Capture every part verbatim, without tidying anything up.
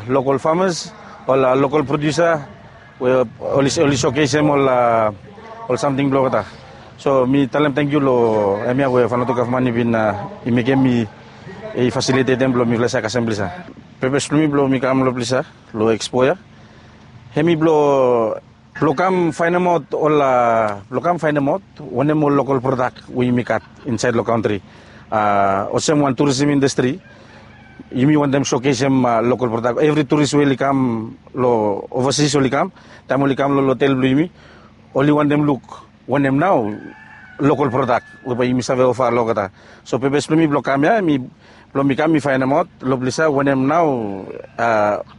Lokol famas, ol lokol produsa we oli sokesim ol samting blong olgeta. So mi talem tangkiu long hemia we Vanuatu gavman i bin i mekem, i fasilitetem blong mifala save kasem blisa. Pepes blong mi blong mi kam long blisa long ekspo ya, hemi blong blong kam faenemaot ol blong kam faenemaot wanem ol lokol prodak we yumi gat insaed long kantri. Olsem wan turisim indastri, yumi wantem sokesim lokol prodak. Evri turis we oli kam long ovasis, oli kam, taem oli kam long hotel blong yumi, oli wantem luk wanem nao lokol prodak we bae yumi save ofa long olgeta. So pepes blong mi blong kam ya, mi blong mi kam mi faenemaot long blisa wanem nao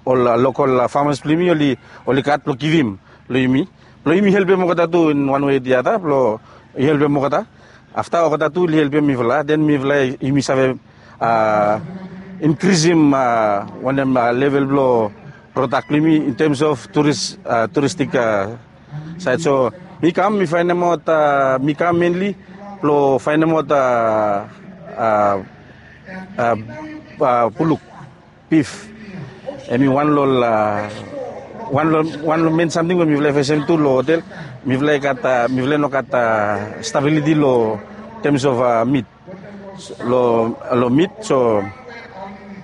ol lokol famas blong yumi oli gat blong givim long yumi, blong yumi helpem olgeta tu in wan wei o di ada blong helpem olgeta. Afta olgeta tu oli helpem mifala, den mifala yumi save inkrisim wanem level blong prodak blong yumi in tems of turistik saed. So mi kam mi faenemaot, mi kam menli blong faenemaot puluk, bif. Hemi wan long ol wan long men samting we mifala i fesem tu long hotel. Mifala i gat, mifala i no gat stabiliti long tems of mit, long mit. So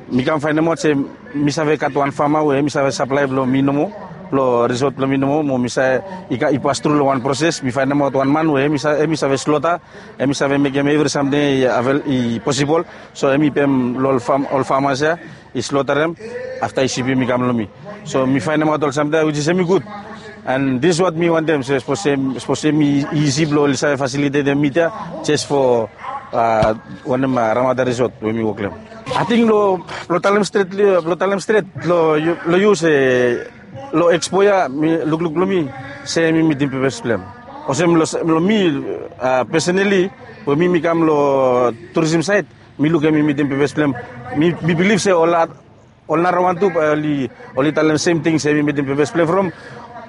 mi kam faenemaot se mi save gat wan fama we hemi save saplae blong mi nomo, blong risot blong mi nomo, mo mi save i pas tru long wan proses. Mi faenemaot wan man we hemi save slota, hemi save mekem evri samting i posibol. So hemi pem long ol famas ya, i slotarem, afta i sipim i kam long mi. So mi faenemaot ol samting ya, wijis hemi gud. And this is what mi wantem. So sapos hemi isi blong oli save fasilitetem mit ya jes fo wanem Ramada Risot we mi wok long hem. Ating long blong talem stret, blong talem stret long yu se long ekspo ya, mi lukluk blong mi se mi mitim pepes blong hem. Olsem long mi, pesonali, we mi mi kam long turisim saed, mi luk hemi mitim pepes blong hem. Mi bilif se ol narawan tu bae oli talem semting se hemi mitim pepes blong hem from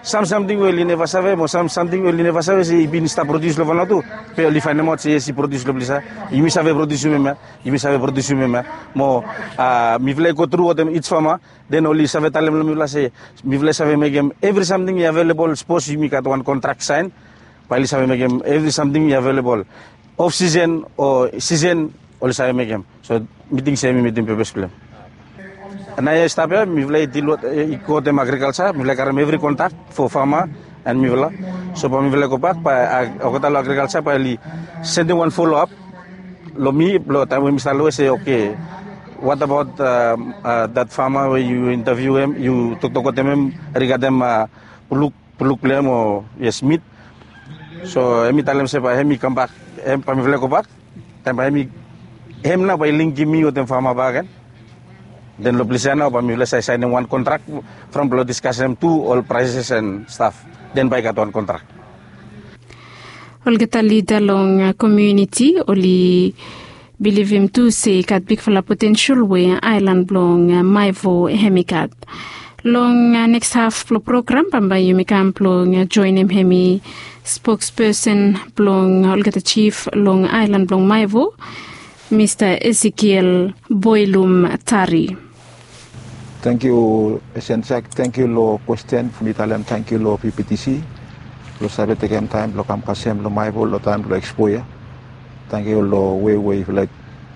sam samting we oli neva save, mo sam samting we oli neva save se i bin stap prodius long Vanuatu, be oli faenemaot se yes, i prodius long blisa. Yumi save prodiusim hemia, yumi save prodiusim hemia. Mo mifala i go tru wetem ij fama, den oli save talem long mifala se mifala i save mekem evri samting i avelebol. Sapos yumi gat wan kontrak saen, bae oli save mekem evri samting i avelebol. Of sisen o sisen, oli save mekem. So mi ting se mi mitim pepes blong hem. Naoia i stap ya, mifala i dil wetem agrikalja, mifala i karem evri kontrak fo fama and mifala. So bae mifala i gobak, bae olgeta long agrikalja bae oli sendem wan foloap long mi blong taem we mi stap long we se, oke, what about that fama we yu intaviu hem, yu toktok wetem hem rigadem puluk, puluk blong hem o yes, mit. So hemi talem se bae hemi kambak, bae mifala i gobak. Taem bae hemi, hem nao bae i lingim mi wetem fama bakegen. Den long ples ya nao bae mifala save saenem wan kontrak from blong diskasem tu ol praeses and staf. Den bae i gat wan kontrak. Olgeta lida long komuniti oli bilivim tu se i gat bigfala potensel we aelan blong Maevo hemi gat. Long neks haf blong program bambae yumi kam blong joenem hemi spokspesen blong olgeta jif long aelan blong Maevo, Mista Ezekiel Boilum Tari. Tangkiu Esensak, tangkiu long kwesten. Mi talem tangkiu long P P T C blong save tekem taem blong kam kasem long Maevo long taem blong ekspo ya. Tangkiu long wei we yufala i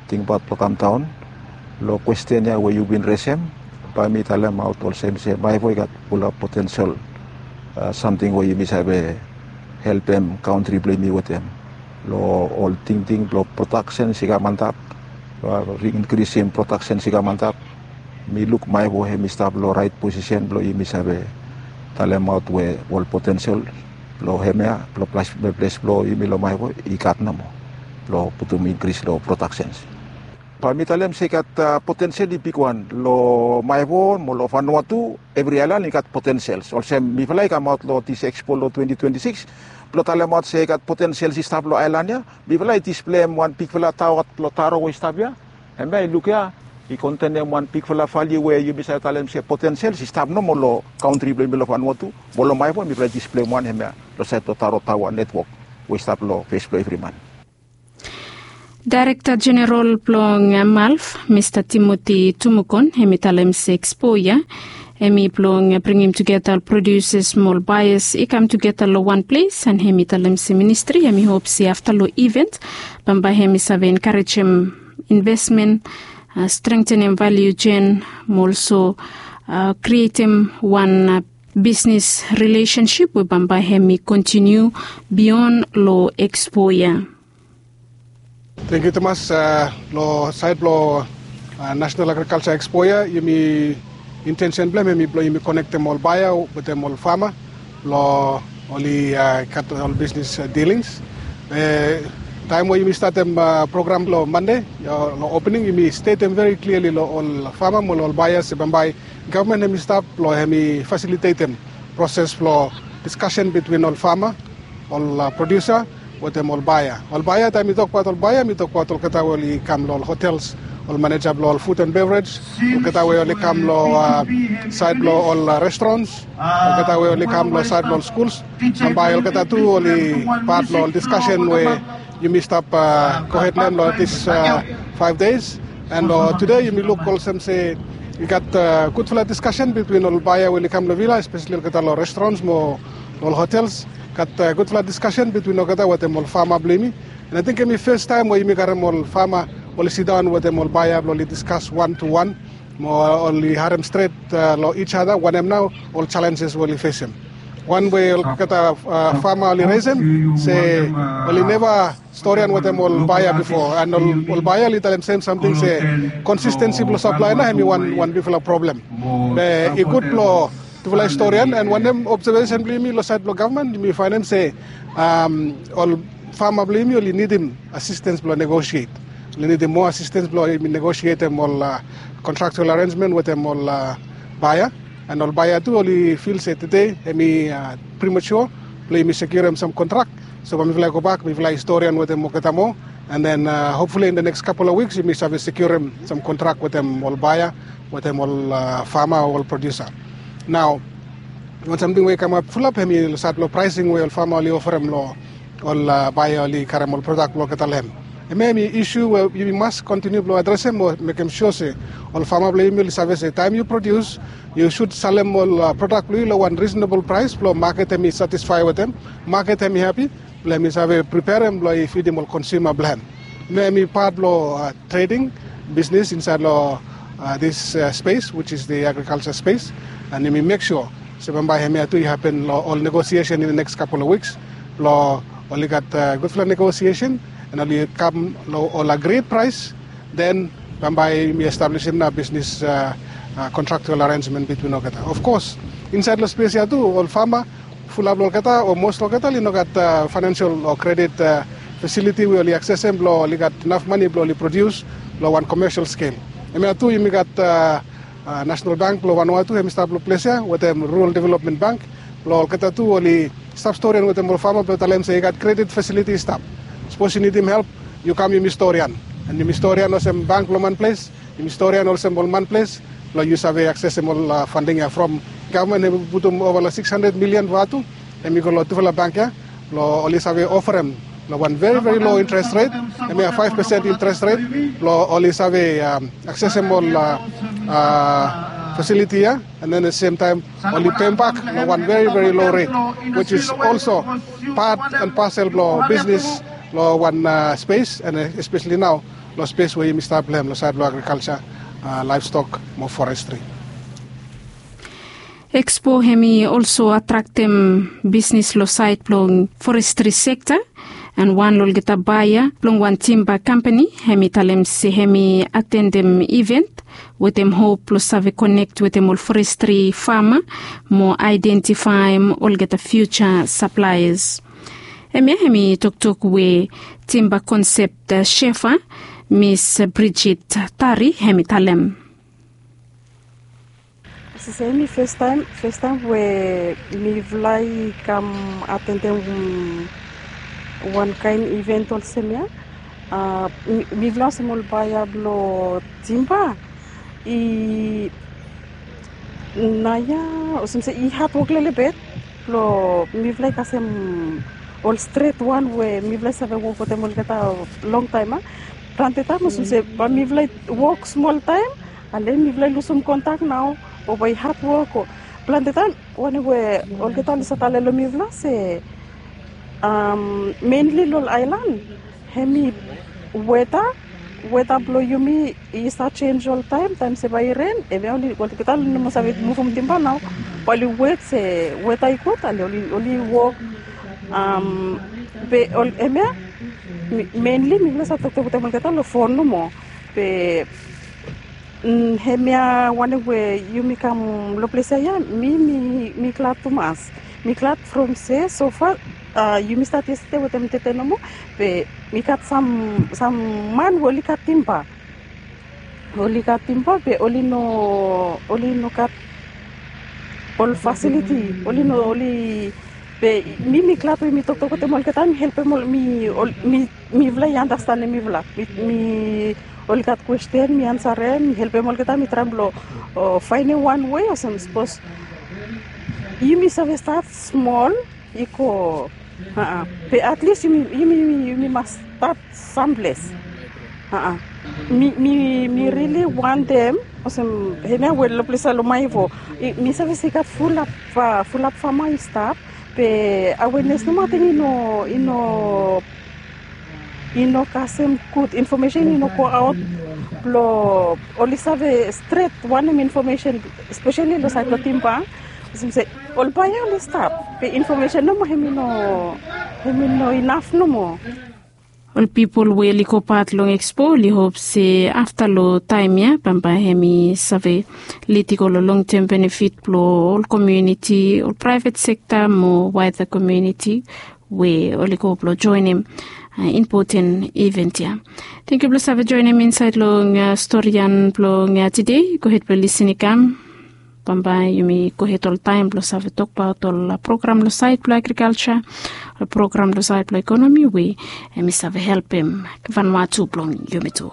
tingbaot blong kamdaon. Long kwesten ya we yu bin resem, bae mi talemaot olsem se Maevo i gat fulap potensel samting we yumi save helpem kantri blong yumi wetem. Long ol tingting blong prodaksens i kam antap, blong inkrisim prodaksens i kam antap. Mi luk Maevo hemi stap long raet posisen blong yumi save talemaot we ol potensel blong hemia, blong ples blong yumi long Maevo i gat nomo blong putum inkris long prodaksens. Bae mi talem se i gat potensel i bigwan long Maevo mo long Vanuatu. Evri aelan i gat potensels. Olsem mifala i kamaot long dis ekspo long twenti twenti sikis blong talemaot se i gat potensels i stap long aelan ya. Mifala i displeim wan bigfala taoa blong taro we i stap ya. Hemia i luk ya, i kontenem wan bigfala valiu we yumi save talem se potensels i stap nomo long kantri blong yumi long Vanuatu. Mo long Maevo mifala i displeim wan hemia long saed long taro taoa netwok we i stap long fes blong evri man. Daerekta Jeneral blong malv, Mista Timoti Tumukon, hem i talem se ekspo ya hem i blong bringim tugeta ol produsas mo ol baeas i kam tugeta long wan ples, and hem i talem se ministri hem i hop se afta long iven bambae hem i save enkarejem investmen, strengtenem valiu jen, mo olso krietem wan bisnes rilesensip we bambae hem i kontiniu bion long ekspo ya. Tengkiu tumas. Long saed blong National Agriculture Expo ya, yumi intensen blong hem hem i blong yumi konektem ol baea wetem ol fama blong oli gat ol bisnes dilings. Taem we yumi statem program long Mande long opening, yumi stetem veri kliali long ol fama mo long ol baea se bambae gavman hem i stap blong hem i fasilitetem proses blong diskasen bitwin ol fama, ol produsa wetem ol baea. Ol baea, taem mi tokbaot ol baea mi tokbaot olgeta we oli kam long ol hotels, ol maneja blong ol food and beverage, olgeta we oli kam long saed blong ol restrons, olgeta we oli kam long saed blong ol skuls. Bambae olgeta tu oli pat long ol diskasen we yumi stap gohed long hem long dis faef deis. And tede yumi luk olsem se i gat gudfala diskasen bitwin ol baea we oli kam long vila, espeseli olgeta long restrons mo ol hotels. Gat gudfala diskasen bitwin olgeta wetem ol fama blong yumi. And ating hem i fes taem we yumi karem ol fama oli sidaon wetem ol baea blong oli diskas wan tu wan mo oli harem stret long each other wanem nao ol jalenjes we oli fesem. Wan we olgeta fama oli resem se oli neva storian wetem ol baea bifo, and ol baea oli talem sem samting se konsistensi blong saplae nao hem i wan bigfala problem. Be i gud blong tufala i storian, and wanem obsevesen blong yumi long saed blong gavman, yumi faenem se ol fama blong yumi oli nidim asistens blong negosiet. Oli nidim moa asistens blong yumi negosietem ol kontraktual arenjmen wetem ol baea. And ol baea tu oli fil se tede hem i primatua blong yumi sekiurem sam kontrak. So bae mifala i gobak, mifala i storian wetem olgeta moa, and then hopfuli in the next couple of weeks yumi save sekiurem sam kontrak wetem ol baea wetem ol fama o ol produsa. Nao wan samting we i kamap fulap hem i long saed blong praesing we ol fama oli ofarem long ol baea oli karem ol prodak blong olgeta long hem. Hemia hem i isu we yumi mas kontiniu blong adresem mo mekem sua se ol fama blong yumi oli save se taem yu prodius, yu sud salem ol prodak blong yu long wan risonabol praes blong maket hem i satisfae wetem, maket hem i hapi blong hem i save priperem blong i fidim ol konsuma blong hem. Hemia hem i pat blong treding bisnes insaed long dis spes, which is the agriculture space. And yumi mek sua se bambae hemia tu i hapen long ol negosiesen in the next couple of weeks blong oli gat gudfala negosiesen, and oli kam long ol agried praes. Then bambae yumi establisim nao bisnes kontraktual arenjmen bitwin olgeta. Of kos insaed long spes ya tu ol fama, fulap long olgeta o mos long olgeta oli no gat faenensel o kredit fasiliti we oli aksesem blong oli gat naf mane blong oli prodius long wan komesel skel. Hemia tu yumi gat Nasenal Bank blong Vanuatu hem i stap long ples ya wetem Rural Development Bank blong olgeta tu oli stap storian wetem ol fama blong talem se i gat kredit fasiliti i stap. Sapos yu nidim help, yu kam yumi storian. And yumi storian olsem bank blong manples, yumi storian olsem ol manples blong yu save aksesem ol fanding ya from gavman hem i putum ova long sikis handred milian Vanuatu, hem i go long tufala bank ya blong oli save ofarem long wan veri veri lo interes ret, hemia faef pesen interes ret, blong oli save aksesem ol fasiliti ya, and then at the same time oli pembak long wan veri veri lo ret, which is also pat and pasel blong bisnes long wan spes, and espeseli nao long spes we yumi stap long hem long saed blong agrikalsa, laevstok mo forestri. Ekspo hem i olso atraktem bisnes long saed blong forestri sekta, and wan long olgeta baea blong wan timba kampani hem i talem se hem i atendem iven wetem hop blong save konek wetem ol forestri fama mo aedentifaem olgeta fiuja saplaeas. Hemia hem i toktok we timba konsep shefa, Mis Bridget Tari, hem i talem. Sese, hemi festaem festaem we mifala i kam atendem wan kaen iven olsem ya. Mifala olsem ol baea blong timba i naoia olsem se i hadwok lelebet blong mifala i kasem ol stret wan we mifala i save wok wetem olgeta longtaem a. Plante taem olsem se bae mifala i wok smol taem, ale mifala i lusum kontak nao, o bae i hatwok o plante taem wanem we olgeta oli save talem long mifala se, am, menli long ol aelan, hemi weta, weta blong yumi i save jenj oltaem, taem se bae i ren, hemia oli, olgeta oli no moa save muvum timba nao, bae oli wet se weta i gud, ale oli, oli wok, am, be ol, hemia, menli mifala save toktok wetem olgeta long fon nomo. Be, mm, hemia wanem we yumi kam long ples ia, mi, mi, mi glad tumas. Mi glad from se so fa, a, yumi stat yestede wetem tete nomo, be mi gat sam, sam man we oli gat timba. Oli gat timba be oli no, oli no gat ol fasiliti, oli no, oli, be mi, mi glad we mi toktok wetem olgeta, mi helpem ol, mi, ol, mi, mifala i andastanem mifala. Mi, mi, oli gat kwesten, mi ansarem, mi helpem olgeta, mi traem blong, o, faenem wan wei olsem sapos yumi save stat smol, i go, a, be atlis yumi, yumi, yumi mas stat samples. A, mi, mi, mi rili wantem olsem hemia we long ples ia long Maewo, i, mi save se i gat fulap, a, fulap fama i stap, be awenes nomo ating i no, i no, i no kasem gud infomesen i no go aot blong oli save stret wanem infomesen, espeseli long saed blong timba. Olsem se ol bae ia oli stap, be infomesen nomo hemi no, hemi no inaf nomo. Ol pipol we oli go pat long ekspo oli hop se afta long taem ia bambae hemi save lid i go long longtem benefit blong ol komuniti, ol praevet sekta mo waeda komuniti we oli go blong joenem, a, impoten iven ia. Tangkiu blong save joenem insaed long, a, storian blong, a, tede. Gohed blong lisin i kam. Bambae yumi gohed oltaem blong save tokbaot ol, a, program long saed blong agrikalja, ol program long saed blong ekonomi we hemi save helpem Vanuatu blong yumi tu.